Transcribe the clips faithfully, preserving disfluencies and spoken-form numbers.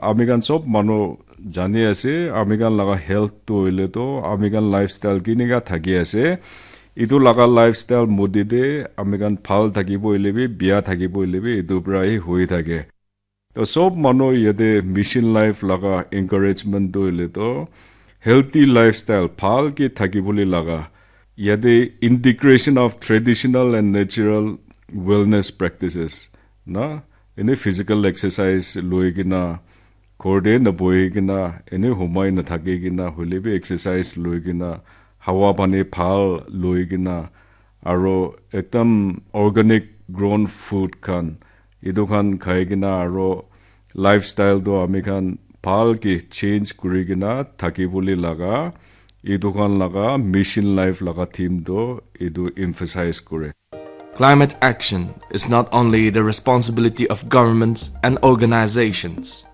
Ami khan sob manu jani ase, ami khan laga health tu hoile to ami khan lifestyle kinika thaki ase. Itu laga lifestyle modi te ami khan bhal thakibo hoile bi, bia thakibo hoile bi, itu pra hi hui thake. To sob manu yate mission life laga encouragement tu hoile to healthy lifestyle bhal ke thakibole laga. Yate integration of traditional and natural wellness practices na, ene physical exercise loi kena, ghor te na bohi kena, ene humai na thaki kena, hoile bi exercise loi kena, hawa pani bhal loi kena, aro ekdam organic grown food khan, etu khan khai kena, aro lifestyle tu ami khan bhal ke change kuri kena thaki bole laga, etu khan laga mission life laga theme tu etu emphasize kore. Climate action is not only the responsibility of governments and organizations.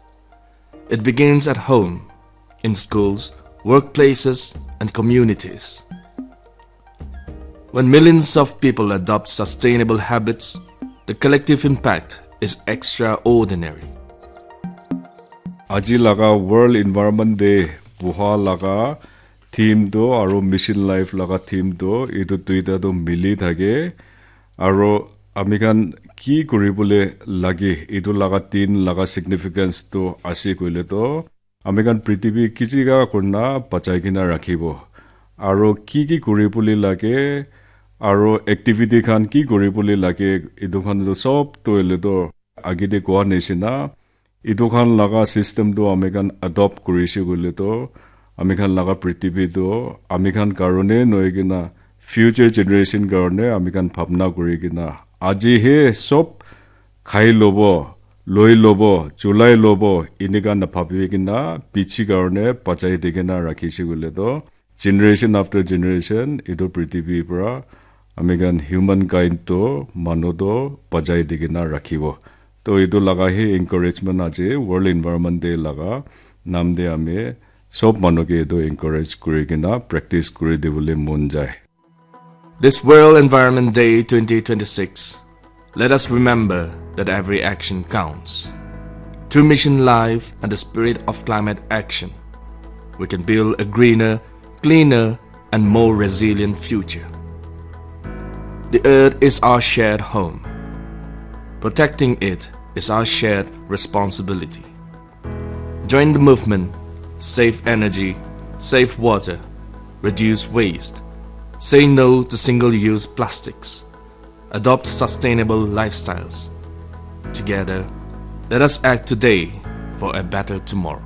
It begins at home, in schools, workplaces, and communities. When millions of people adopt sustainable habits, the collective impact is extraordinary. Aji laga World Environment Day buha laga theme tu aro mission life laga theme tu etu duita tu mili thake, aro ami khan ki kuri bole lage etu laga din laga significance tu ase koile to ami khan prithibi kichika kurna bachai kena rakhibo, aro ki ki kuri bole lage, aro activity khan ki kuri bole lage, etu khan tu sob tu hoile to age te koa nishina, etu khan laga system tu ami khan adopt kurise koile to ami khan laga prithibi tu ami khan karone nohoi kena future generation karone ami khan bhabna kuri kena aji he sob khai lobo, loi lobo, chulai lobo, enika na bhabi kena pichi karone bachai di kena rakhise koile to generation after generation etu prithibi pra ami khan human kind to manu to bachai di kena rakhibo. To etu laga he encouragement aji World Environment Day laga nam te ami sob manu ke etu encourage kuri kena practice kuri dibole mon jai. This World Environment Day twenty twenty-six, let us remember that every action counts. Through mission life and the spirit of climate action, we can build a greener, cleaner, and more resilient future. The earth is our shared home. Protecting it is our shared responsibility. Join the movement. Save energy, save water, reduce waste. Say no to single use plastics. Adopt sustainable lifestyles. Together, let us act today for a better tomorrow.